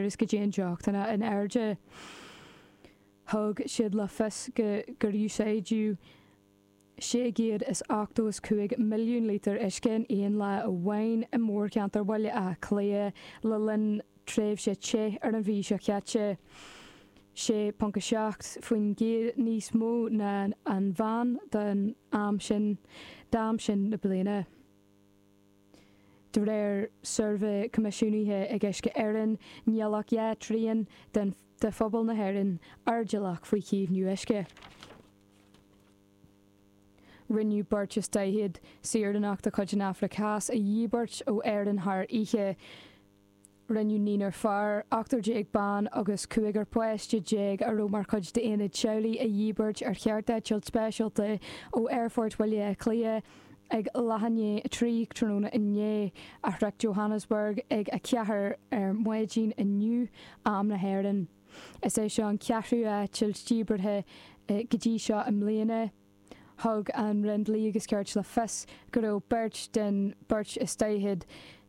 is go dtéann deochanna in airde. Thug siad le fios go gur úsáideadh 685 milliún lítear uisce in aon lá amháin i mórcheantar Bhaile Átha Cliath le linn tréimhse te ar an mhí seo caite, 6.7% níos mó ná an mheán don am sin d'am sin na bliana. De réir suirbhé coimisiúnaithe ag Uisce Éireann, níl ach 2 thrian de phobal na hÉireann airdeallach faoi chaomhnú uisce. Rinneadh beirt is 40 saoránach de chuid an Afraic Theas a dhíbirt ó Éirinn thar oíche. Rinneadh naonúr fear, 18 bean agus cúigear páiste a raibh mar chuid d'aonad teaghlaigh a dhíbirt ar chearteitilt speisialta ó Aerfort Bhaile Átha Cliath ag leath i ndiaidh 3 tráthnóna inné, a shroich Johannesburg ag 4 ar maidin inniu, am na hÉireann. Is é seo an ceathrú eitilt díbeartha go dtí seo i mbliana. Thug an Roinn Dlí agus Cirt le fios go raibh beirt den beirt is 40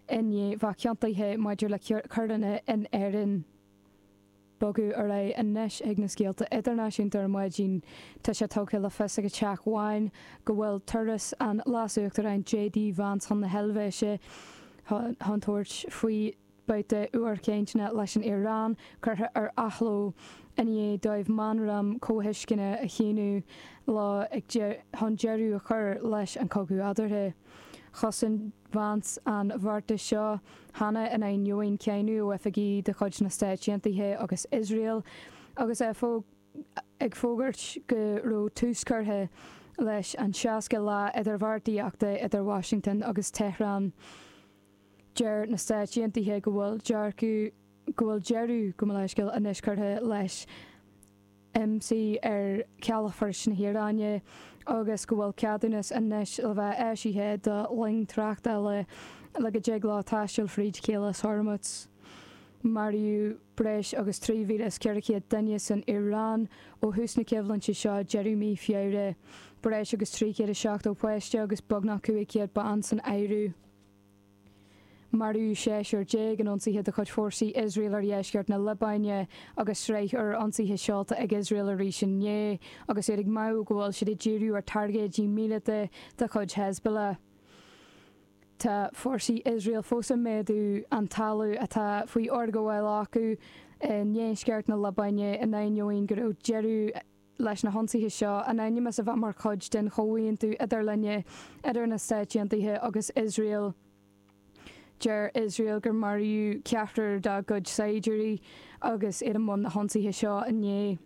i ndiaidh bheith ciontaithe maidir le coireanna in Éirinn. Bogadh ar aghaidh anois chuig na scéalta idirnáisiúnta ar maidin. Tá sé tugtha le fios ag an Teach Bhán go bhfuil turas an Leas-Uachtaráin JD Vance chun na hEilvéise chun tabhairt faoi babhta úr cainteanna leis an Iaráin curtha ar athló i ndiaidh dóibh meamram comhthuisceana a shíniú leo chun deireadh a chur leis an chogadh eadarthu. Chosain Vance an bheartas seo cheana in ainneoin cáineadh ó oifigigh de chuid na Stáit Aontaithe agus Iosrael agus é ag fógairt go raibh tús curtha leis an 60 lá idirbheartaíochta idir Washington agus Tehran. Deir na Stáit Aontaithe go bhfuil dearcadh, go bhfuil deireadh, gabh mo leithscéal, anois curtha leis ionsaí ar chalafoirt na hIaráine agus go bhfuil ceadúnas anois le bheith eisithe do loing tráchtála le go dtig leo taisteal fríd Chaolas Hormuz. Maraíodh breis agus 3,400 duine san Iaráin ó thús na coimhlinte seo deireadh mí Feabhra, breis agus 370 páiste agus beagnach 500 bean san áireamh. Maraíodh seisear in ionsaithe de chuid fórsaí Iosrael ar dheisceart na Liobáine agus sraith úr ionsaithe seolta ag Iosrael arís inné agus iad ag maíomh go bhfuil siad ag díriú ar targaidí míleata de chuid Hezbollah. Tá fórsaí Iosrael fós ag méadú an talamh atá faoi fhorghabháil acu i ndeisceart na Liobáine in ainneoin go raibh deireadh leis na hionsaithe seo, in ainm is a bheith mar chuid den chomhaontú idirlinne idir na Stáit Aontaithe agus Iosrael. Deir Iosrael gur maraíodh ceathrar dá gcuid saighdiúirí agus iad i mbun na hionsaithe seo inné.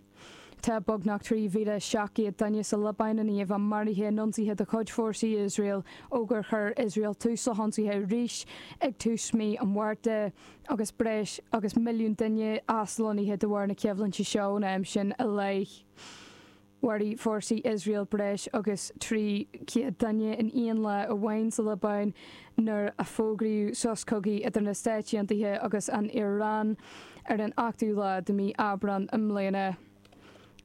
Tá beagnach 3,700 duine sa Liobáin i ndiaidh a bheith maraithe in ionsaithe de chuid fórsaí Iosrael ó gur chuir Iosrael tús le hionsaithe arís ag tús mí an Mhárta. agus breis agus milliún duine aslonnaithe de bharr na coimhlinte seo ón am sin i leith. Mharaigh fórsaí Iosrael breis agus 300 duine in aon lá amháin sa Liobáin nuair a fógraíodh sos cogaidh idir na Stáit Aontaithe agus an Iaráin ar an 8ú lá de mhí Aibreán i mbliana.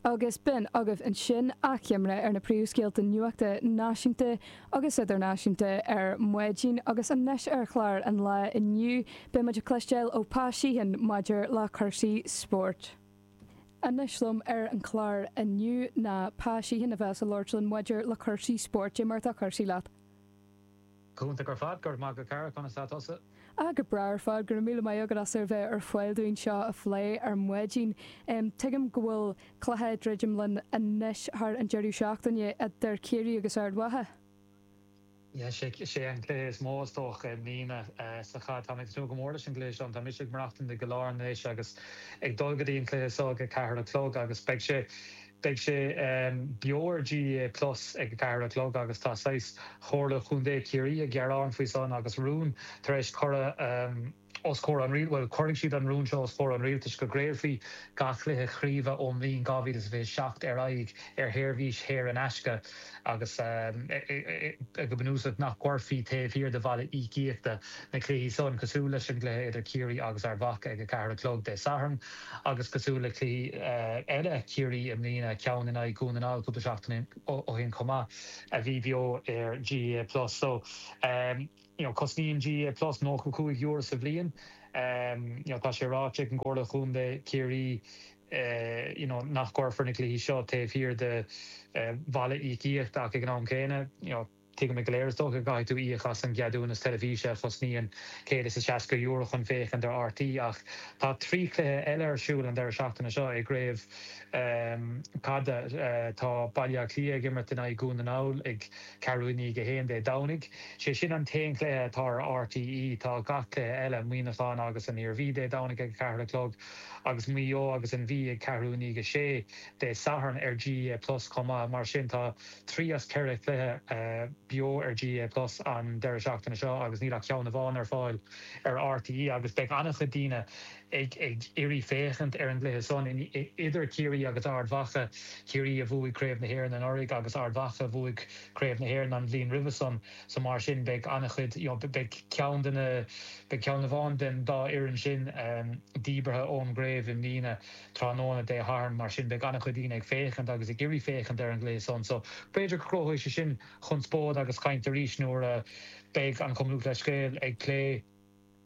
Agus b'in agaibh ansin achoimre ar na príomhscéalta nuachta náisiúnta agus idirnáisiúnta ar maidin agus anois ar chlár an lae inniu beidh muid ag cloisteáil ó Pa Sheehan maidir le cúrsaí spóirt. Anois liom ar an chlár inniu ná Pa Sheehan a bheas ag labhairt linn maidir le cúrsaí spóirt. Cad é mar atá cúrsaí leat? Go hiontach ar fad, go raibh maith agat a chara, conas tá tusa? Ah, go breá ar fad, go raibh míle maith agat as a bheith ar fáil dúinn seo a phlé ar maidin. Tuigim go bhfuil cluiche ag druidim linn anois thar an deireadh seachtaine idir Ciarraí agus Ard Mhacha. Yeah, sé sé an cluiche is mó is dócha i mbliana sa chaid. Tá mé ag tnúth go mór leis an gcluiche seo. Tá mise ag maireachtaint i gCill Airne anois agus ag dul go dtí an cluiche seo ag a ceathair a chlog agus beidh sé Beidh sé beo ar GAA Plus ag a ceathair a chlog agus tá saghas Chomhairle Chontae Chiarraí ag gearán faoi san agus rún tar éis cur os comhair an rialtais, bhuel cuirfidh siad an rún seo os comhair an rialtais go gcraolfaí gach cluiche chraoibhe ón mbliain 2027 ar aghaidh ar sheirbhís shaor in aisce agus go bunúsach nach gcuirfí taobh thiar de bhalla íocaíochta na cluichí san, cosúil leis an gcluiche idir Ciarraí agus Ard Mhacha ag a ceathair a chlog Dé Sathairn. Agus cosúil le cluichí eile Chiarraí i mbliana, ceann in aghaidh Dhún na nGall cúpla seachtain ó shin chomh maith, a bhí beo ar GAA Plus. So, you know, cosnaíonn GAA Plus €95 sa bhliain. You know tá sé ráite ag an gComhairle Chontae Chiarraí you know nach gcuirfear na cluichí seo taobh thiar de bhalla íocaíochta ach ag an am céanna you know tuigimid go léir is dócha go gcaithfidh tú íoc as an gceadúnas teilifíse a chosnaíonn €160 chun féachaint ar RTÉ ach tá 3 chluiche eile ar siúl an deireadh seachtaine seo i gcraobh caide. Tá Baile Átha Cliath ag imirt in aghaidh Dhún na nGall ag ceathrú i ndiaidh a haon Dé Domhnaigh. Sé sin an t-aon chluiche atá ar RTÉ. Tá gach cluiche eile, Muineachán agus an Iarmhí Dé Domhnaigh ag a ceathair a chlog agus Maigh Eo agus an Mhí ag ceathrú i ndiaidh a sé Dé Sathairn ar GAA Plus chomh maith. Mar sin tá 3 as 4 chluiche beo ar GAA Plus an deireadh seachtaine seo agus níl ach ceann amháin ar fáil ar RTÉ agus beidh an-chuid daoine ag iarraidh féachaint ar an gcluiche san idir Ciarraí agus Ard Mhacha, Ciarraí a bhuaigh Craobh na hÉireann anuraidh agus Ard Mhacha a bhuaigh Craobh na hÉireann an bhliain roimhe san so mar sin beidh an-chuid you know beidh ceann de na beidh ceann amháin den dá fhoireann sin díbeartha ón gcraobh i mbliana. tráthnóna Dé Sathairn, mar sin beidh an-chuid daoine ag féachaint agus ag iarraidh féachaint ar an gcluiche san. So b'fhéidir go gcruthóidh sé sin conspóid agus caint arís nuair a beidh an Cumann Lúthchleas Gael ag plé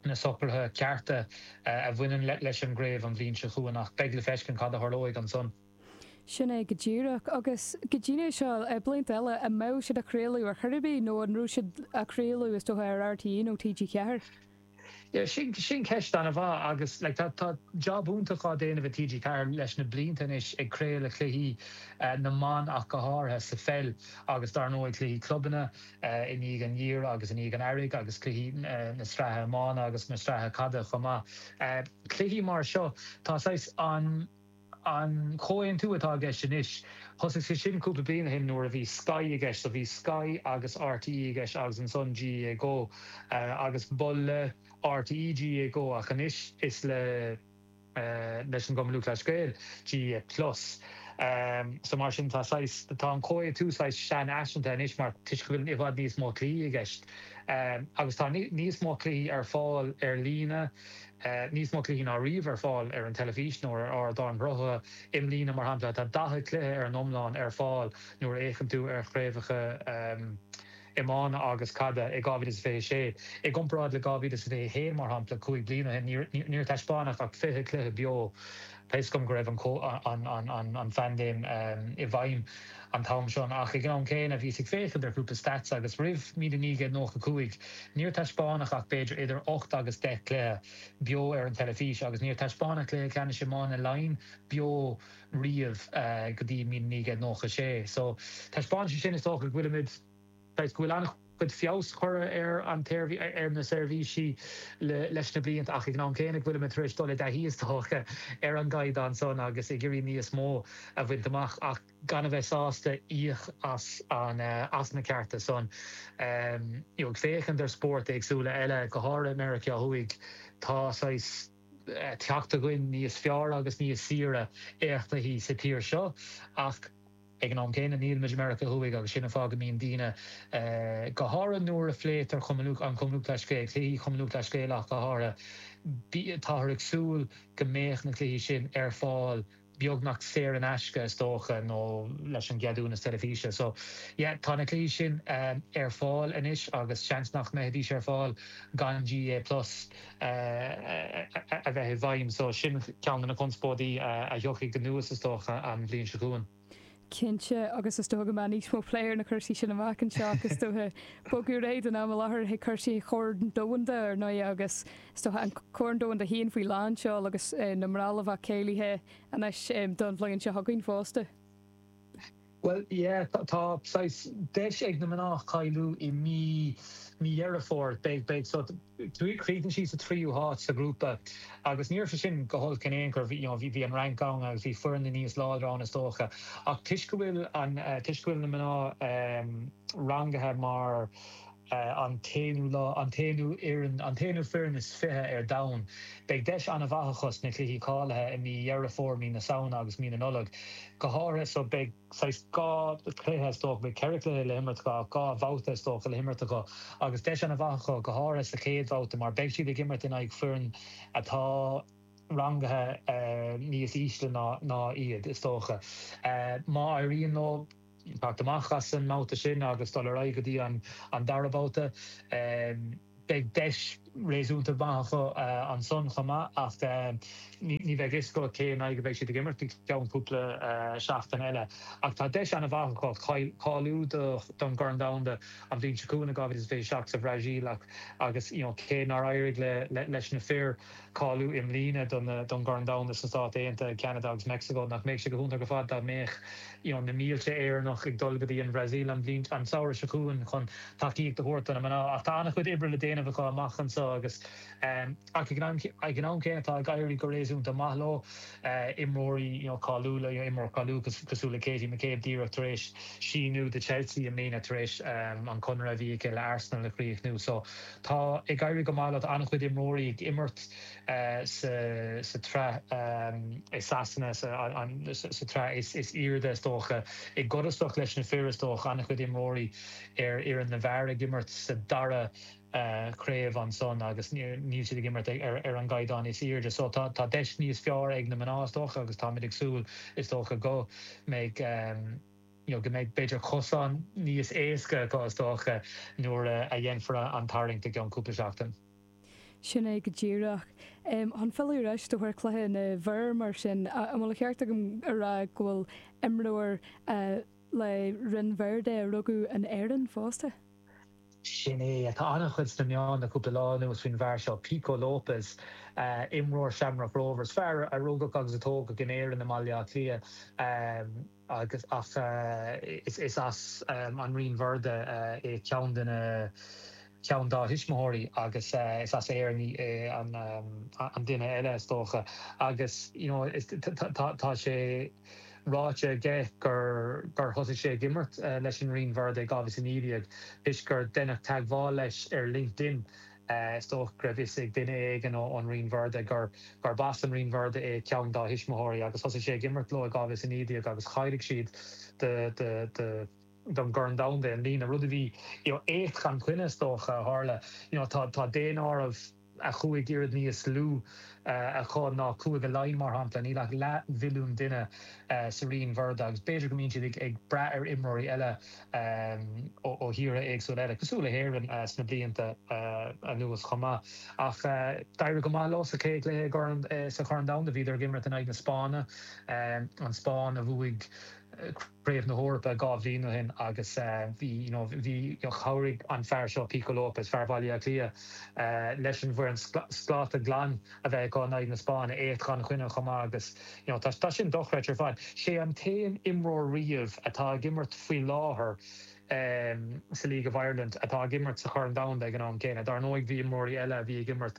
na socruithe cearta a bhaineann leis an gcraobh an bhliain seo chugainn ach beidh le feiscint cad a tharlóidh ansan. Sin é go díreach. Agus go dtí seo, blianta eile, an mbeadh siad á chraoladh ar chor ar bith nó an raibh siad á chraoladh is dócha ar RTÉ nó TG4? Yeah, sin, sin ceist an-mhaith agus like tá, tá jab iontach á déanamh ag TG4 leis na blianta anois ag craoladh cluichí na mban ach go háirithe sa pheil agus dar ndóigh cluichí clubanna i ndiaidh an gheimhridh agus i ndiaidh an earraigh agus cluichí na sraithe iomána agus na sraithe caide chomh maith. Cluichí mar seo, tá saghas an. An comhaontú atá i gceist anois, thosaigh sé sin cúpla bliain ó shin nuair a bhí Sky i gceist, so bhí Sky agus RTÉ i gceist agus ansan GAA Go agus ba le RTÉ GAA Go ach anois is le leis an gCumann Lúthchleas Gael GAA Plus. So mar sin tá saghas, tá an comhaontú saghas seanfhaiseanta anois mar toisc go bhfuil i bhfad níos mó cluichí i gceist agus tá níos mó cluichí ar fáil ar líne, Níos mó cluichí ná riamh ar fáil ar an teilifís nó ar ardáin sruthaithe. I mbliana, mar shampla, tá 40 cluiche ar an iomlán ar fáil nuair a fhéachann tú ar chraobhacha iomána agus caide i 2026. I gcomparáid le 2021, mar shampla, 5 bliana ó shin, níor taispeánadh ach 20 cluiche beo. Tá fhios agam go raibh an phaindéim i bhfeidhm an t-am sin ach ag an am céanna bhíos ag féachaint ar chúpla stats agus roimh 1995 níor taispeánadh ach b'fhéidir idir 8 agus 10 cluiche beo ar an teilifís agus níor taispeánadh cluiche ceannais iomána Laighean beo riamh go dtí 1996. So taispeánann sé sin is dócha go bhfuilimid Saghas go bhfuil an-chuid feabhas curtha ar an ar na seirbhísí leis na blianta ach ag an am céanna go bhfuilimid tar éis dul i dtaithí is dócha ar an gcaighdeán san agus ag iarraidh níos mó a bhaint amach ach gan a bheith sásta íoc as an as na cearta san. You know ag féachaint ar spóirt éagsúla eile, go háirithe i Meiriceá Thuaidh, tá saghas teacht againn níos fearr agus níos saoire ar chluichí sa tír seo ach Ag an am céanna, nílimid i Meiriceá Thuaidh agus sin an fáth go mbíonn daoine, go háirithe nuair a phléitear an Cumann Lúthchleas Gael, cluichí Chumann Lúthchleas Gael ach go háirithe, táthar ag súil go mbeadh na cluichí sin ar fáil beagnach saor in aisce is dócha nó leis an gceadúnas teilifíse. So, yeah, tá na cluichí sin ar fáil anois agus seans nach mbeidís ar fáil gan GAA Plus a bheith i bhfeidhm. So, sin ceann de na conspóidí a thiocfaidh anuas is dócha an bhliain seo chugainn. Cinnte, agus is dócha go mbeidh níos mó plé ar na cúrsaí sin amach anseo ach is dócha bogadh ar aghaidh don am i láthair chuig cúrsaí Chorn Domhanda ar ndóigh agus is dócha an Corn Domhanda féin faoi lán seoil agus na mná le bheith cáilithe anois don bhliain seo chugainn fosta. Bhuel, yeah, tá saghas deis ag na mná cáiliú i mí, mí Dheireadh Fómhair. Beidh, beidh, so críochnaigh siad sa tríú háit sa ghrúpa agus ní raibh sé sin go holc in aon chor, bhí, you know, bhí, bhí an Fhrainc ann agus bhí foireann níos láidre ann is dócha. Ach toisc go bhfuil an, toisc go bhfuil na mná rangaithe mar an t-aonú lá, an t-aonú fhoireann, an t-aonú foireann is 20 ar domhan. Beidh deis an-mhaith acu sna cluichí cáilithe i mí Dheireadh Fómhair, mí na Samhna agus mí na Nollag. Go háirithe so beidh saghas dhá chluiche is dócha, beidh ceithre chluiche le himirt acu ach dhá bhabhta is dócha le himirt acu agus deis an-mhaith acu go háirithe sa chéad bhabhta mar beidh siad ag imirt in aghaidh foireann atá rangaithe níos ísle ná iad is dócha. Má éiríonn leo. teacht amach as an mbabhta sin agus dul ar aghaidh go dtí an dara babhta. Beidh deis. réasúnta maith acu ansan chomh maith ach ní bheidh fhios agat cé in aghaidh a bheidh siad ag imirt go ceann cúpla seachtain eile. Ach tá deis an-mhaith acu cáiliú don gCorn Domhanda an bhliain seo chugainn i 2027 sa Bhrasaíl ach agus you know cé nár éirigh leis na fir cáiliú i mbliana don gCorn Domhanda sna Stáit Aontaithe, Ceanada agus Meicsiceo, nach mbeadh sé go hiontach ar fad dá mbeadh you know na mílte Éireannach ag dul go dtí an Bhrasaíl an bhliain, an samhradh seo chugainn chun tacaíocht a thabhairt do na mná. Ach tá an-chuid oibre le déanamh acu amach anseo agus ach ag an am céanna tá ag éirí go réasúnta maith leo. Imreoirí you know cáiliúla, you know imreoir cáiliúil cosúil le Katie McCabe díreach tar éis síniú do Chelsea i mbliana tar éis an conradh a bhí aici le Arsenal a chríochnú. So tá ag éirí go maith leo. Tá an-chuid imreoirí ag imirt sa tsraith i Sasana, sa tsraith is airde is dócha. I gcodarsnacht leis na fir is dócha, an-chuid imreoirí ar fhoireann na bhfear ag imirt sa dara craobh ansan agus níl siad ag imirt ar an gcaighdeán is airde. So tá deis níos fearr ag na mná is dócha agus táimid ag súil is dócha go mbeidh you know go mbeidh b'fhéidir cosán níos éasca acu is dócha nuair a dhéanfar an tarraingt i gceann cúpla seachtain. Sin é go díreach. Chun filleadh ar ais do chluiche na bhfear mar sin, an bhfuil an ceart agam a rá go bhfuil imreoir le Rinn Verde a rugadh in Éirinn fosta? Sin é. Tá an-chuid sna meáin le cúpla lá anuas faoin bhfear seo, Pico Lopes, imreoir Shamrock Rovers, fear a rugadh agus a tógadh in Éirinn i mBaile Átha Cliath agus ach is as an Rinn Verde é ceann de na ceann dá thuismitheoirí agus is as Éirinn é an duine eile is dócha agus you know tá sé ráite aige gur thosaigh sé ag imirt leis an Rinn Verde i 2019 toisc gur deineadh teagmháil leis ar LinkedIn. Is dócha go raibh fhios ag duine éigin ón Rinn Verde gurb as an Rinn Verde é ceann dá thuismitheoirí agus thosaigh sé ag imirt leo i 2019 agus cháiligh siad don gCorn Domhanda i mbliana, rud a bhí éacht gan choinne is dócha a tharla. Tá daonáireamh. a chúig oiread níos lú acu ná Cúige Laighean, mar shampla. Níl ach leathmhilliún duine sa Rinn Verde agus b'fhéidir go mbíonn siad ag brath ar imreoirí eile ó thíortha éagsúla eile, cosúil le hÉirinn, sna blianta anuas chomh maith. Ach d'éirigh go maith leo sa chéad chluiche sa Chorn Domhanda. Bhíodar ag imirt in aghaidh na Spáinne, an Spáinn a bhuaigh Craobh na hEorpa 2 bhliain ó shin agus bhí, you know, bhí, chabhraigh an fear seo, Pico Lopes, fear Bhaile Átha Cliath, leis an bhfoireann scláta glan a bheith acu in aghaidh na Spáinne, éacht gan choinne chomh maith agus, you know, tá, tá sin dochreidte ar fad. Sé an t-aon imreoir riamh atá ag imirt faoi láthair sa League of Ireland atá ag imirt sa Chorn Domhanda ag an am céanna. Dar ndóigh bhí imreoirí eile a bhí ag imirt,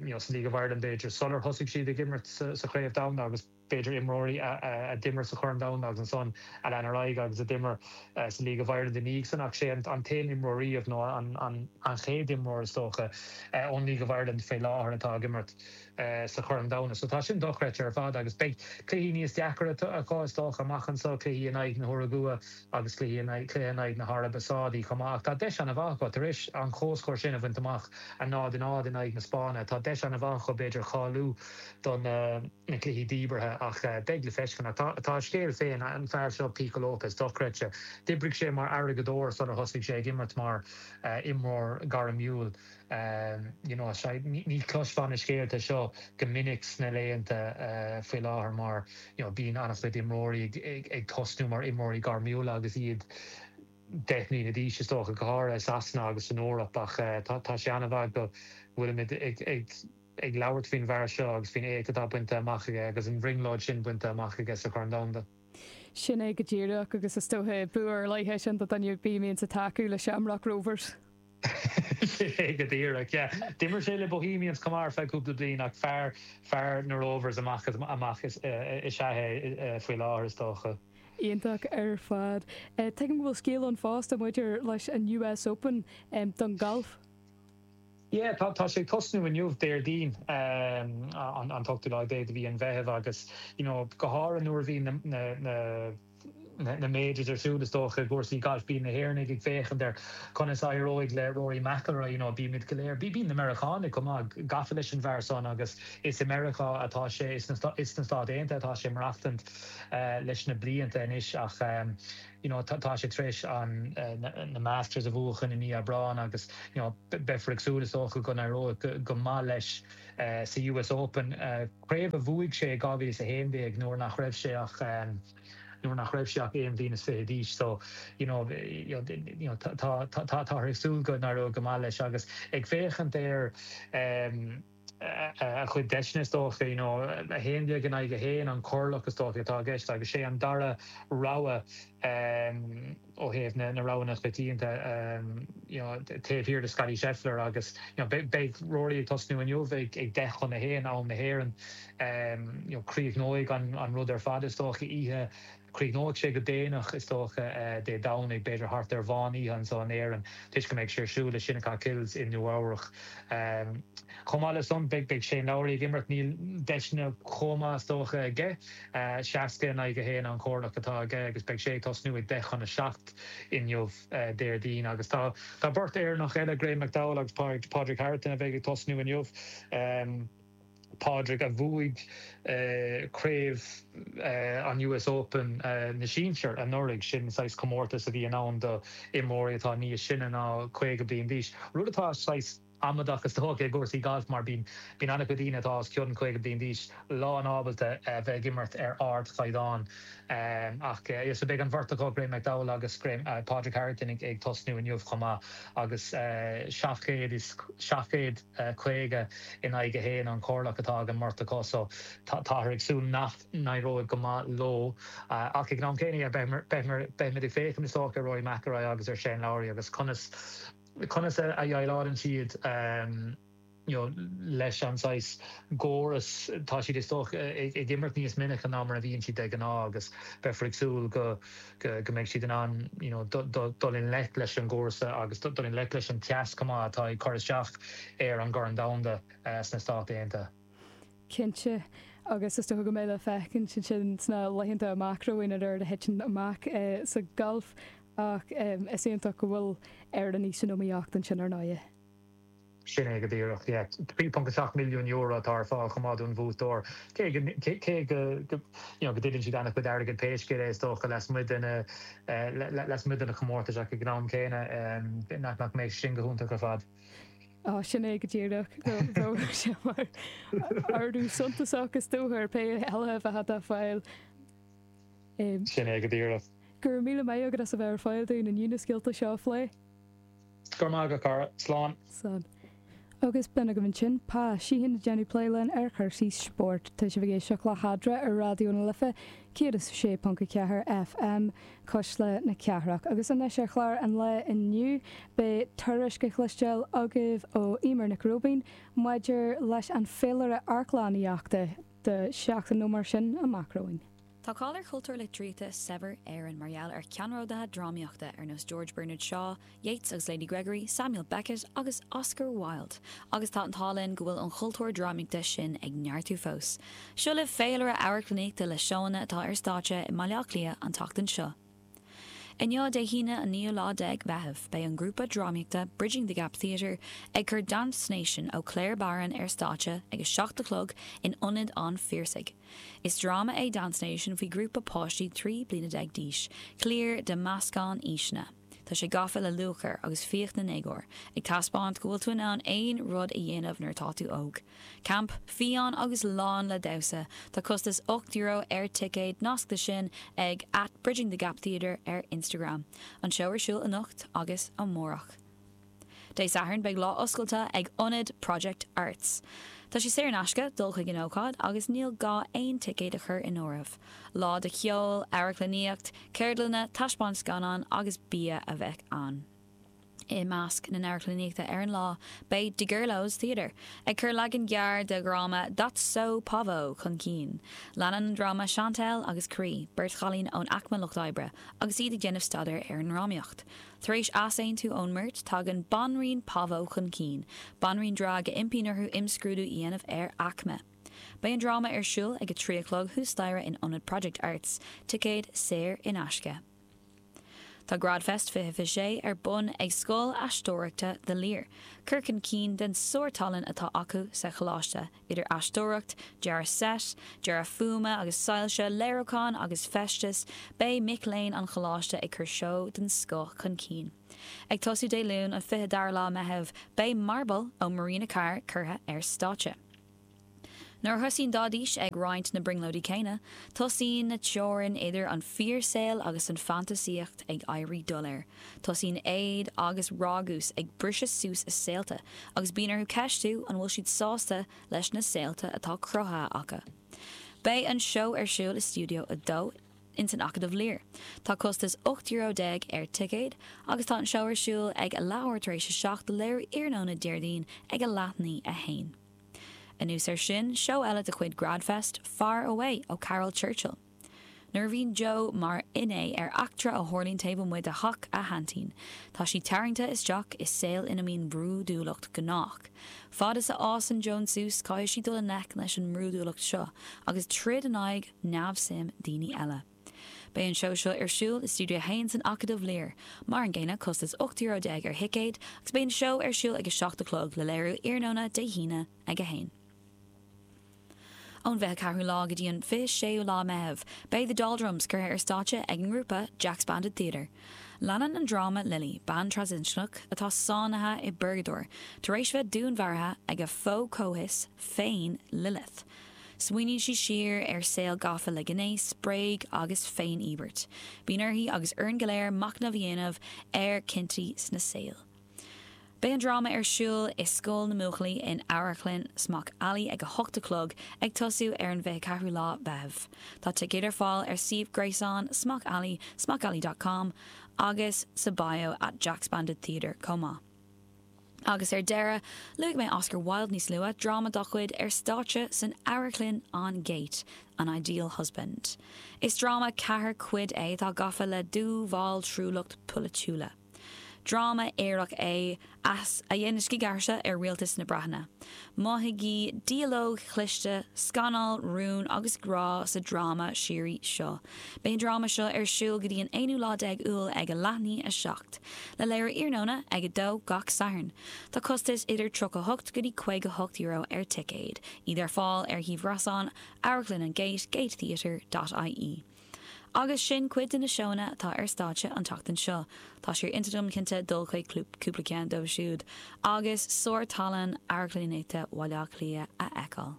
you know, sa League of Ireland b'fhéidir sular thosaigh siad ag imirt sa Chraobh Domhanda agus, b'fhéidir imreoirí a d'imir sa Chorn Domhanda agus ansan a lean ar aghaidh agus a d'imir sa League of Ireland ina dhiaidh san ach sé an t-aon imreoir riamh nó an chéad imreoir is dócha ón League of Ireland fé láthair atá ag imirt sa Chorn Domhanda. So tá sin dochreidte ar fad agus beidh cluichí níos deacra acu is dócha amach anseo, cluichí in aghaidh na hUragua agus cluichí in aghaidh, cluiche in aghaidh na hAraibe Sádaí chomh maith ach tá deis an-mhaith acu tar éis an comhscór sin a bhaint amach, 0-0 in aghaidh na Spáinne, tá deis an-mhaith acu b'fhéidir cáiliú don na cluichí díbeartha ach beidh le feiscint. Ach tá a scéal féin, an fear seo Pico Lopes, dochreidte. D'oibrigh sé mar airgeadóir sular thosaigh sé ag imirt mar imreoir gairmiúil. You know, ní chloisfeá na scéalta seo go minic sna laethanta faoi láthair mar you know bíonn an-chuid imreoirí ag tosnú mar imreoirí gairmiúla agus iad 10 mbliana d'aois is dócha, go háirithe i Sasana agus san Eoraip ach tá sé an-mhaith go bhfuilimid ag ag labhairt faoin bhfear seo agus faoin éacht atá bainte amach aige agus an bhrionglóid sin bainte amach aige sa Chorn Domhanda. Sin é go díreach agus is dócha bua ar leith é sin do dhuine ar bith a mbíonns ag tacú le Shamrock Rovers. Sin é go díreach, yeah. D'imir sé le Bohemians chomh maith ar feadh cúpla bliain ach fear, fear na Rovers amach is amach is ea é faoi láthair is dócha. Iontach ar fad. Tuigim go bhfuil scéal ann fosta maidir leis an US Open don ghalf. Yeah, tá, tá sé ag tosnú inniu, Déardaoin, an t-ochtú lá déag de mhí an Mheithimh agus, you know, go háirithe nuair a bhí na, na, na, na majors ar siúl is dócha i gcúrsaí gailf. Bíonn na hÉireannaigh ag féachaint ar conas a éireoidh le Rory McIlroy, you know, bímid go léir, bíonn na Meiriceánaigh chomh maith gafa leis an bhfear san agus is i Meiriceá atá sé, is sna Stáit Aontaithe atá sé ag maireachtaint leis na blianta anois ach you know tá sé tar éis an na Masters a bhuachan i mí Aibreáin agus you know beifear ag súil is dócha go n-éireoidh go maith leis sa US Open, craobh a bhuaigh sé i 2011 nuair nach raibh sé ach nuair nach raibh sé ach aon bhliain is fiche d'aois. So, you know, you know, tá, tá, táthar ag súil go n-éireoidh go maith leis agus ag féachaint ar a chuid deiseanna is dócha, you know, 11 in aghaidh 1 an corrlach is dócha atá i gceist agus sé an dara rogha ó thaobh na roghanna coitianta you know taobh thiar de Scottie Scheffler agus you know beidh Rory ag tosnú inniu ag 10 chun a haon am na hÉireann you know críochnóidh an rud ar fad is dócha oíche críochnóidh sé go déanach is dócha Dé Domhnaigh b'fhéidir thart ar mheán oíche anseo in Éirinn toisc go mbeidh sé ar siúl i Shinnecock Hills i Nua Eabhrach. Chomh maith le san beidh Shane Lowry ag imirt níl deiseanna chomh maith is dócha aige. 60 in aghaidh 1 an corrlach atá aige agus beidh sé ag tosnú ag 10 chun 7 inniu, Déardaoin. Agus tá beirt Éireannach eile, Graeme McDowell agus Pádraig Harrington, a bheidh ag tosnú inniu. Pádraig a bhuaigh craobh an US Open na sinsear anuraidh, sin saghas comórtas a bhíonn ann do imreoirí atá níos sine ná 50 bliain d'aois, rud atá saghas amaideach is dócha i gcúrsaí gailf mar bíonn an-chuid daoine atá os cionn 50 bliain d'aois lán ábalta a bheith ag imirt ar ardchaighdeán. Ach so beidh an bheirt acu, Graeme McDowell agus Pádraig Harrington ag tosnú inniu chomh maith agus 750 in aghaidh 1 an corrlach atá ag an mbeirt acu so táthar ag súil nach n-éireoidh go maith leo. Ach ag an am céanna beimid ag féachaint is dócha ar Rory McIlroy agus ar Shane Lowry agus conas Conas a dhéileálann siad you know leis an saghas gcóras, tá siad is dócha ag imirt níos minice ná mar a bhíonn siad de ghnáth agus beifear ag súil go go mbeidh siad in ann you know dul i ngleic leis an gcúrsa agus dul i ngleic leis an teas chomh maith atá ag cur isteach ar an gCorn Domhanda sna Stáit Aontaithe. Cinnte, agus is dócha go mbeidh le feiscint ansin sna laethanta amach romhainn an rud a thiteann amach sa ghalf ach is iontach go bhfuil Éireannaigh san iomaíocht ansin ar ndóigh. Sin é go díreach, yeah. €3.7 milliún atá ar fáil chomh maith don bhuaiteoir. Cé go cé go you know go dtuilleann siad an-chuid airgid pé scéal é is dócha lasmuigh de na lasmuigh de na comórtais ach ag an am céanna nach nach mbeidh sin go hiontach ar fad. Á, sin é go díreach. Bheadh sé mar ardú suntasach is dócha ar pé eile a bheadh á fáil. Sin é go díreach. Go raibh míle maith agat as a bheith ar fáil dúinn inniu na scéalta seo a phlé. Go raibh maith agat, a chara. Slán. Slán. Agus b'in agaibh ansin Pa Sheehan ag déanamh plé linn ar chúrsaí spóirt. Tá sibh ag éisteacht le hEadra ar Raidió na Life 106.4 FM. Cuisle na Cathrach. Agus anois ar chlár an lae inniu, beidh tuairisc á chloisteáil agaibh ó Eimear Nic Róibín maidir leis an féilire amharclannaíochta do sheachtain nó mar sin amach romhainn. Tá cáil ar chultúr litríochta saibhir Éireann mar gheall ar cheannródaithe drámaíochta ar nós George Bernard Shaw, Yeats agus Lady Gregory, Samuel Beckett agus Oscar Wilde, agus tá an t-ádh linn go bhfuil an chultúr drámaíochta sin ag neartú fós. Seo libh féilire amharclannaíochta le seóanna atá ar stáitse i mBaile Átha Cliath an tseachtain seo. Inniu, Dé hAoine an naoú lá déag Meitheamh, beidh an grúpa drámaíochta Bridging the Gap Theatre ag cur Dance Nation ó Claire Barron ar stáitse ag a 7 a chlog in Ionad an Phiarsaigh. Is dráma é Dance Nation faoi ghrúpa páistí 13 bliana d'aois, cliar de mheascán aoiseanna. Tá sé gafa le lúcháir agus fiach na ndéagóir, ag taispeáint go bhfuil tú in ann aon rud a dhéanamh nuair atá tú óg. Camp, fiáin agus lán le damhsa. Tá costas €8 ar ticéad, nasc do sin ag at Bridging the Gap Theatre ar Instagram. An seó ar siúl anocht agus amárach. Dé Sathairn beidh lá oscailte ag Ionad Project Arts. Tá sé saor in aisce dul chuig an ócáid agus níl gá aon ticéad a chur in áirithe. Lá de cheol, amharclannaíocht, ceardlanna, taispeáint scannán agus bia a bheidh ann. I measc na n-amharclannaíochta ar an lá beidh DeGurlos Theatre ag cur leagan gearr de dhráma That's So Pavo chun cinn. Leanann an dráma Chantelle agus Cree, beirt chailín ón aicme lucht oibre, agus iad ag déanamh staidéir ar an ndrámaíocht. Tar éis easaontú ón mbeirt, tagann Banríon Pavo chun cinn, banríon drag a impíonn orthu imscrúdú a dhéanamh ar aicme. Beidh an dráma ar siúl ag a 3 a chlog thuas staighre in Ionad Project Arts, ticéid saor in aisce. Tá Gradfest 2026 ar bun ag Scoil Aisteoireachta The Lir, cur chun cinn den sár-tallann atá acu sa choláiste, idir aisteoireacht, dearadh seit, dearadh fuaime agus soilse, léiriúchán agus feisteas, beidh mic léinn an choláiste ag cur seó den scoth chun cinn. Ag tosú Dé Luain an 22ú lá Meitheamh, beidh Marble ó Marina Carr curtha ar stáitse. Nuair a thosaíonn Daidís ag roinnt na brionglóidí céanna, tosaíonn na teorainn idir an fíorshaol agus an fantasaíocht ag éirí doiléir. Tosaíonn éad agus ragús ag briseadh suas a saolta agus bíonn orthu ceistiú an bhfuil siad sásta leis na saolta atá cruthaithe acu. Beidh an seó ar siúl i Stiúideo 2 ins an Acadamh Lir. Tá costas €18 ar ticéad agus tá an seó ar siúl ag a leathuair tar éis a 7 le léiriú iarnóna Déardaoin ag a leath i ndiaidh a haon. Anuas air sin, seó eile de chuid Gradfest, Far Away ó Caryl Churchill. Nuair a bhíonn Joe mar fhinné ar eachtra a tharlaíonn taobh amuigh de theach a haintín, tá sí tarraingte isteach i saol ina mbíonn brúidiúlacht gnách. Fad is a fhásann Joan suas, caithfidh sí dul i ngleic leis an mbrúidiúlacht seo agus troid in aghaidh neamhsuim daoine eile. Beidh an seó seo ar siúl i Stiúideo 1 san Acadamh Lir. Mar an gcéanna, costas €18 ar thicéid agus beidh an seó ar siúl ag 7 a chlog le léiriú iarnóna Dé hAoine ag 1. Ón 24ú lá go dtí an 26ú lá Meitheamh, beidh The Doldrums curtha ar stáitse ag an ngrúpa Jack's Bandit Theatre. Leanann an dráma Lily, bean trasinscneach atá sáinnithe i bpurgadóir tar éis bheith dúnmharaithe ag a fo-chomhfhios féin, Lilith. Smaoiníonn sí siar ar saol gafa le gnéas, bréag agus féin-íobairt. Bíonn uirthi agus orainn go léir machnamh a dhéanamh ar chinntí sna saol. Beidh an dráma ar siúl i Scoil na mBuachaillí in Amharclann Smock Alley ag 8 a chlog, ag tosú ar an 24ú lá Mheitheamh. Tá ticéid ar fáil ar suíomh gréasáin Smock Alley, smockalley dot com, agus sa bio at Jack's Bandit Theatre chomh maith. Agus ar deireadh, luaigh mé Oscar Wilde níos luaithe, dráma dá chuid ar stáitse san amharclann An Gate, An Ideal Husband. Is dráma ceathair cuid é atá gafa le dúbhaltrúlacht polaitiúla. Dráma aorach é a dhéanann scigaithrise ar rialtas na Breataine. Mothaígí dialóg chliste, scannal, rún agus grá sa dráma síoraí seo. Beidh an dráma seo ar siúl go dtí an aonú lá déag Iúil ag a leath i ndiaidh a 7, le léiriú iarnóna ag 2 gach Satharn. Tá costais idir 38 go dtí €58 ar ticéad, iad ar fáil ar shuíomh gréasáin Amharclann an Gate, gatetheatre dot ie. Agus sin cuid de na seóanna atá ar stáitse an tseachtain seo. Tá sé ar intinn agam cinnte dul chuig cúpla ceann dóibh siúd agus sár-tallann amharclannaíochta Bhaile Átha Cliath a fheiceáil.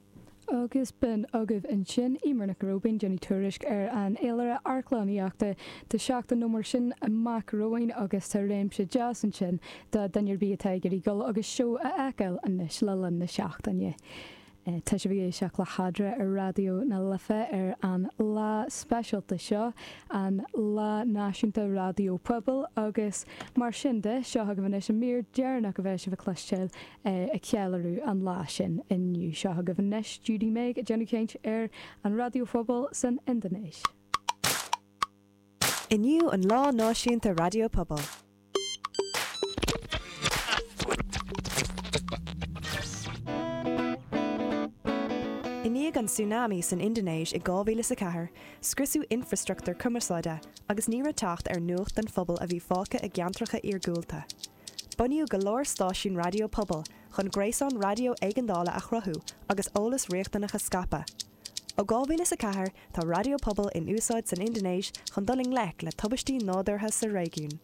Agus b'in agaibh ansin Eimear Nic Róibín ag déanamh tuairisc ar an fhéilire amharclannaíochta do sheachtain nó mar sin amach romhainn agus tá réimse deas ansin do dhuine ar bith atá ag iarraidh dul agus seó a fheiceáil anois le linn na seachtaine. Tá sibh ag éisteacht le hEadra ar Raidió na Life ar an lá speisialta seo, an Lá Náisiúnta Raidió Pobail agus mar sin de, seo agaibh anois an mír deireanach a bheidh sibh a chloisteáil ag ceiliúradh an lá sin inniu. Seo agaibh anois Judy Meg ag déanamh caint ar an Raidió Phobail san Indinéis. Inniu an Lá Náisiúnta Raidió Pobail. I ndiaidh an tsunami san Indinéis i 2004, scriosadh infreastruchtúr cumarsáide agus ní raibh teacht ar nuacht don phobal a bhí fágtha i gceantracha iargúlta. Bunaíodh go leor stáisiún raidió pobail chun gréasán raidió éigeandála a chruthú agus eolas riachtanach a scaipeadh. Ó 2004 tá raidió pobail in úsáid san Indinéis chun dul i ngleic le tubaistí nádúrtha sa réigiún.